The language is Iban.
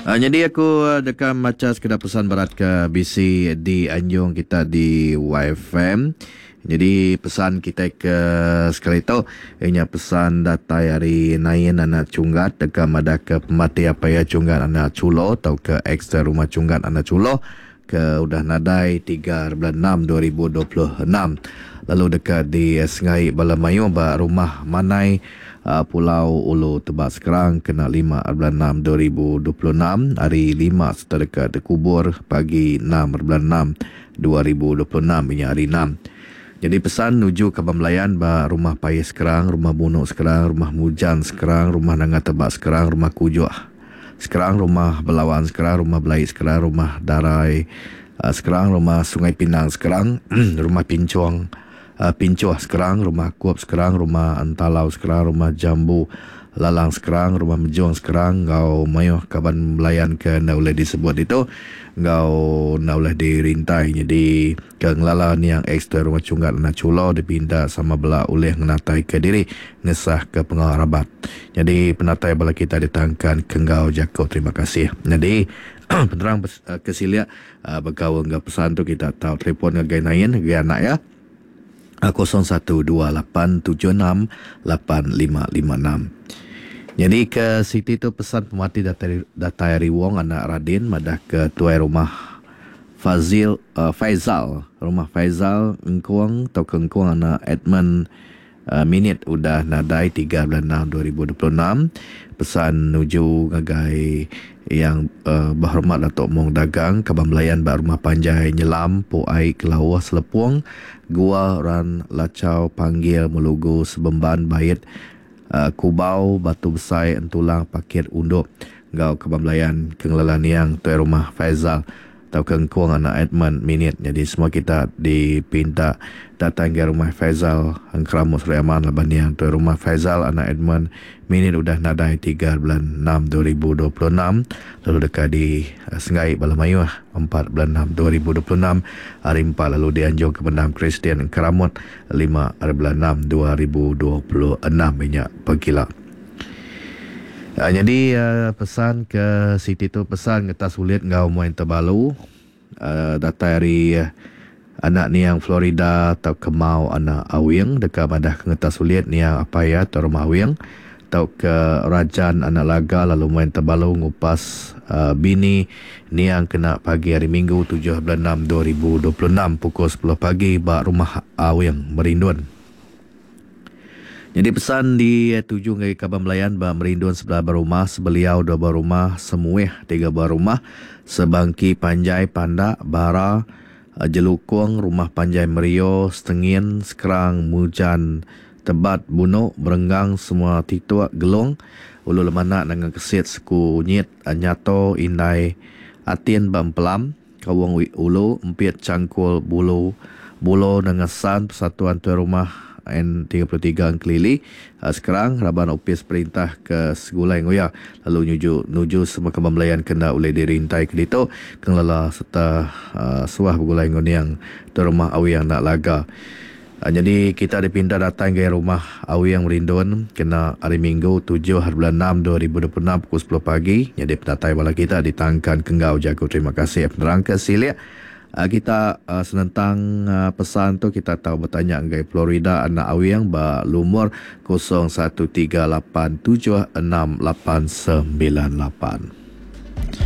Nyadi aku deka macha sekeda pesan berat ke bisi dianjung kita di YFM. Nyadi pesan kitai ke sekali tu iya nya pesan datai ari Nain anak Chunggat deka madahka pemati apai iya Chunggat anak Chulo tauka ex Rumah Chunggat anak Chulo ke udah nadai 3 bulan 6 2026 lalu deka disengai bala mayuh ba Rumah Manai Pulau Ulu Tebak Skrang kena 5 bulan 6 2026 hari 5 sereta deka dikubur pagi 6 bulan 6 2026 inya hari 6. Jadi pesan nuju kaban belayan ba Rumah Pais Skrang, Rumah Bunuk Skrang, Rumah Mujan Skrang, Rumah Nanga Tebak Skrang, Rumah Kujuk Skrang, Rumah Belawan Skrang, Rumah Belai Skrang, Rumah Darai Skrang, Rumah Sungai Pinang Skrang, Rumah Pinchong Pinchoh Skrang, Rumah Kup Skrang, Rumah Entalau Skrang, Rumah Jambu Lalang Skrang, Rumah Mejong Skrang enggau mayuh kaban belayan ke enda ulih disebut ditu enggau enda ulih dirintai nyadi ke ngelala niang ex Tuai Rumah Chunggat Anak Chulo dipinta sama bela ulih ngenataika diri ngesahka pengawa rabat. Nyadi penatai bala kita ditangkan ke enggau jaku terima kasih. Nyadi penerang ke silik bekaul enggau pesan tu kita tau telefon ngagai Nain ngagai anak iya 0128768556. Nyadi ke siti tu pesan pemati datai datai ari Wong anak Radin madah ke tuai rumah Fazil Faizal rumah Faizal Engkong tauka Engkong anak Edmund Minit udah nadai 3 bulan 6 2026. Pesan nuju ngagai Yang Berhormat Datuk Mong Dagang, Kaban Belayan ba Rumah Panjai Nyelam, Pu Ai Kelauh Selepong, Gua Ran Lachau Panggil Melugu Sebemban Bait Kubau Batu Besai Entulang Pakit Undup enggau Kaban Belayan ke ngelala niang Tuai Rumah Faizal tauka engkung anak Edmund Minit nyadi semua kita dipinta datai ngagai rumah Faizal Engkeramu Sri Aman laban niang tuai rumah Faizal anak Edmund Minit udah nadai 3 bulan 6 2026 lalu deka di senggai bala mayuh 4 bulan 6 2026 hari 4 lalu dianjung ke pendam Kristian Engkeramut 5 bulan 6 2026 inya pegila. Nyadi pesan ke siti tu pesan ngetas ulit enggau muai tebalu datai ari anak niang Florida tauka Mau anak Awing deka madah ke ngetas ulit niang apai iya tau rumah Awing tauka Rajan anak Laga lalu muai tebalu ngupas bini niang kena pagi hari Minggu 7 bulan 6 2026 pukul 10 pagi ba rumah Awing Merindun. Nyadi pesan dituju ngagai kaban belayan ba Merindun sebelah ba rumah, Sebeliau dua ba rumah, Semuih tiga ba rumah, Sebangki Panjai Pandak, Bara, Jelukong, Rumah Panjai Merio, Setengin, Skrang, Mujan, Tebat, Bunok, Berenggang, semua Tituk, Gelong, Ulu Lemanak, Nanga Kesit, Seku Nyit, Nyato, Indai, Atin ba Empelam, Kaung Ulu, Empit Changkul Bulu, Bulo Nanga San, Persatuan Tuai Rumah N33 Engkelili, Skrang, raban opis perintah ke segulai nguya lalu nyuju nuju semua kaban belayan ke enda ulih dirintai ke ditu ke ngelala sereta suah begulai enggau niang Tuai Rumah Awing enda laga. Nyadi kita dipinta datai ngagai Rumah Awing Merindun kena Hari Minggu 7 bulan 6 2026 pukul 10 pagi. Nyadi penatai bala kita ditangkan ke enggau jaku terima kasih. Penerang ke silik kita senentang pesan tu kita tau betanya ngagai Florida anak Awing ba lumur 01387689 8.